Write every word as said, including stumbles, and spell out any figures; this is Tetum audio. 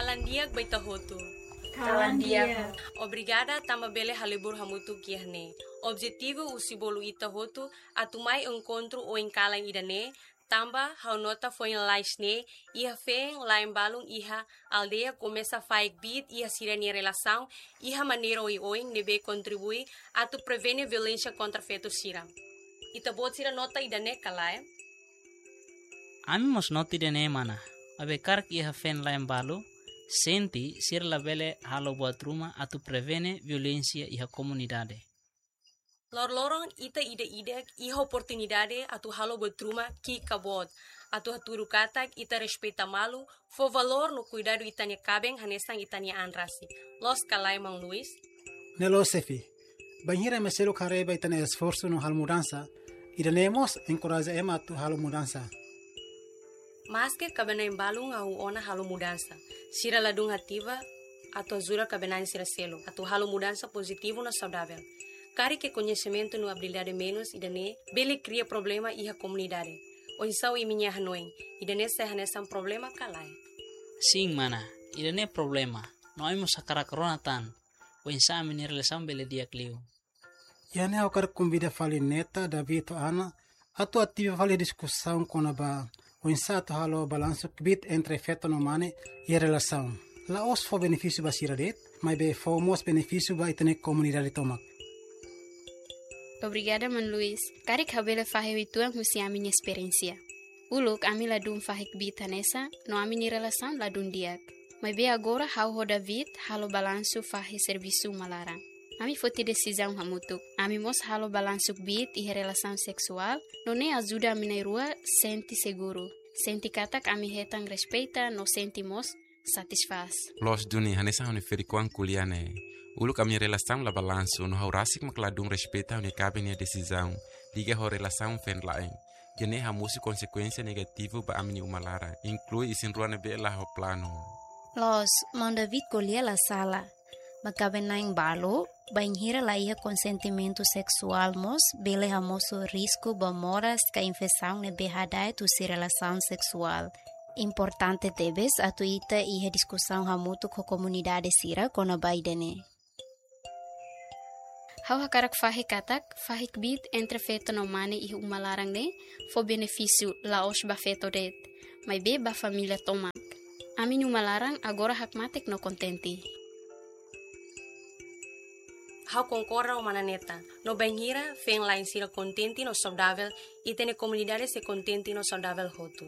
Kalan di'ak ba ita hotu. Kalan di'ak. Obrigada tanba bele halibur hamutuk iha ne'e. Objetivu husi bolu ita hotu atu mai enkontru oin-kalan ida-ne'e, tanba ha'u nota foin lalais ne'e iha feen la'en balun iha aldeia komesa fahe kbiit iha sira-nia relasaun iha maneira oioin ne'ebé kontribui atu prevene violénsia kontra feto sira. Ita-boot sira nota ida-ne'e ka lae? Ami mós nota ida-ne'e, mana. Maibé karik iha feen la'en balu sente sira labele halo buat ruma atu prevene violénsia iha komunidade. Loroloron ita ida-idak iha oportunidade atu halo buat ruma ki'ik ka boot, atu hatudu katak ita respeita malu, fó valór no kuidadu ita-nia kaben hanesan ita-nia an rasik. Loos ka lae, maun Luis? Ne'e loos, xefe. Bainhira ema seluk haree ba ita-nia esforsu no halo mudansa, ida-ne'e mós enkoraja ema atu halo mudansa. Maske kaben-na'in balun hahú ona halo mudansa, sira ladún ativa atu ajuda kaben-na'in sira seluk atu halo mudansa pozitivu no saudavel. Karik koñesimentu no abilidade menus ida-ne'e bele kria problema iha komunidade. Oinsá imi-nia hanoin, ida-ne'e sai hanesan problema ka lae? Sin, mana, ida-ne'e problema. No ami mós hakarak rona tan oinsá ami-nia relasaun bele di'ak liu. Iha ne'e ha'u hakarak konvida fali Neta, David ho Ana atu ativa fali diskusaun kona-ba oinsá atu halo balansu kbiit entre feto no mane iha relasaun. La'ós fó benefísiu ba sira de'it, maibé fó mós benefísiu ba ita-nia komunidade tomak. Obrigada, maun Luis. Karik ha'u bele fahe uitoan husi ami-nia esperiénsia. Uluk ami ladún fahe kbiit hanesan, no ami-nia relasaun ladún di'ak. Maibé agora ha'u ho David halo balansu fahe servisu uma laran. Ami foti desizaun hamutuk. Ami mós halo balansu kbiit iha relasaun seksuál, no ne'e ajuda ami na'in-rua sente seguru, sente katak ami hetan respeita no sente mós satisfás. Loos duni, hanesan ha'u-nia ferik-oan ko'alia ne'e. Uluk ami-nia relasaun la balansu, no ha'u rasik mak ladún respeita ha'u-nia kaben nia desizaun liga ho relasaun feen la'en. Ida-ne'e hamosu konsekuénsia negativu ba ami-nia uma laran, inklui isin-rua ne'ebé la ho planu. Loos, maun David ko'alia la sala. Ba kaben-na'in balu, bainhira la iha konsentimentu seksuál mós bele hamosu risku ba moras ka infesaun ne'ebé hada'et husi relasaun seksuál. Importante tebes atu ita iha diskusaun hamutuk ho komunidade sira kona-ba ida-ne'e. Ha'u hakarak fahe katak fahe kbiit entre feto no mane iha uma laran ne'e fó benefísiu la'ós ba feto de'it, maibé ba família tomak. Ami-nia uma laran agora hakmatek no kontente. Ha'u konkorda ho mana Neta. No bainhira feen la'en sira kontente no saudavel, ita-nia komunidade sei kontente no saudavel hotu.